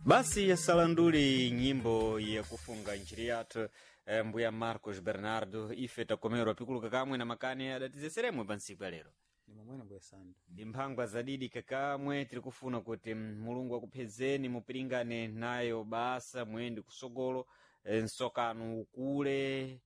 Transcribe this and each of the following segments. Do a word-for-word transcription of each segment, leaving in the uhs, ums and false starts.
Basi yasalanduli nyimbo yakufunga nchiri yathu eh, mbuya Marcos Bernardo ife takomerwa pikuluka kamwe na makani adatizeseremwe pa ntsiku ya lero. Ni momwene mbuya Sandu. Ndi mphangwa zadidi kakamwe tiri kufuna kuti mm, Mulungu akuphezeni mupiringane nayo basa muyende kusogolo eh, nsokano ukule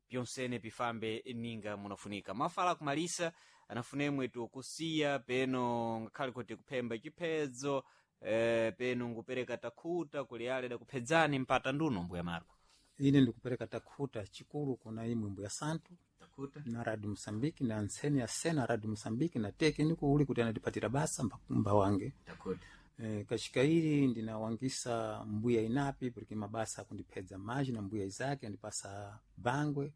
pyonsene pifambe ninga munafunika. Mafala kumalisa anafunemwe tukusiya peno ngakhale kuti kuphemba chiphedzo eh, peno ngupereka takhuta kuli ale dakuphedzani mpata nduno mbuya Marco. Ine ndikupereka takhuta chikulu kuna imwe mbuya Santu Takhuta na Radio Mosambiki na ntseni ya sena Radio Mosambiki na tekniko uli kuti anatipatira basa mba, mba wange. Takhuta. E, kashika ili ndinawangisa mbuya inapi porque mabasa akundiphedza maji na mbuya Isaki andipasa bangwe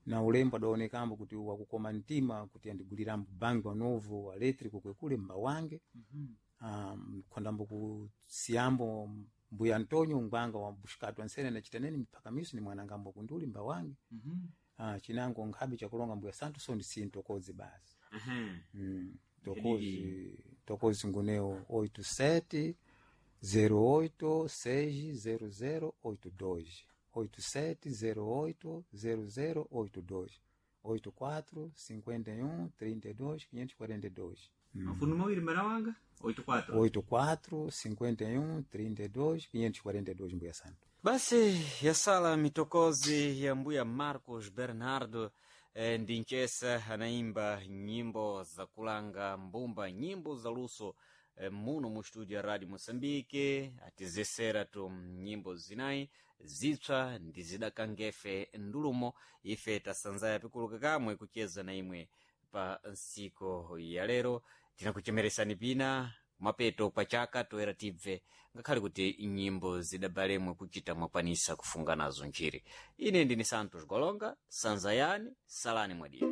na ulembo adaonekambo kuti wakukoma mtima kuti andigulirambo bangwe novo elétrico kwekule mba wange. mm -hmm. Um, khondambo kusiyambo mbuya Antonio ngwanga wa bushikatu ansene nachitaneni miphakamiso ni mwanangambo kunduli mba wange. mm -hmm. Ah, chinango nkhabe chakulonga mbuya Santu so ndisintokozi basi. Mhm. Mm, tokozi tokozi nguneo oito sete zero oito seis zero zero oito dois oito sete zero oito zero zero oito dois oito quatro cinquenta e um trinta e dois quinhentos e quarenta e dois. Mafundo mawiri mbana wanga oito quatro. Oito quatro cinquenta e um trinta e dois quinhentos e quarenta e dois mbuya Santo. Basi yasala mitokozi ya mbuya Marcos Bernardo eh, ndi nchesa anaimba nyimbo za kulanga mbumba, nyimbo za luso eh, muno mu studio ya Radio Mosambike atizesera tu nyimbo zinayi zitswa ndi zidakangefe ndulumo ife tasanzaya pikuluka kamwe kucheza na imwe pa nsiku ya lero tinakuchemeresani pina kumapeto kwa chaka toera tibve ngakhale kuti nyimbo zidabalemwe kuchita mwakwanisa kufunga nazo nchiri. Ine ndini Santos Golonga, sanzayani salani mwadiri.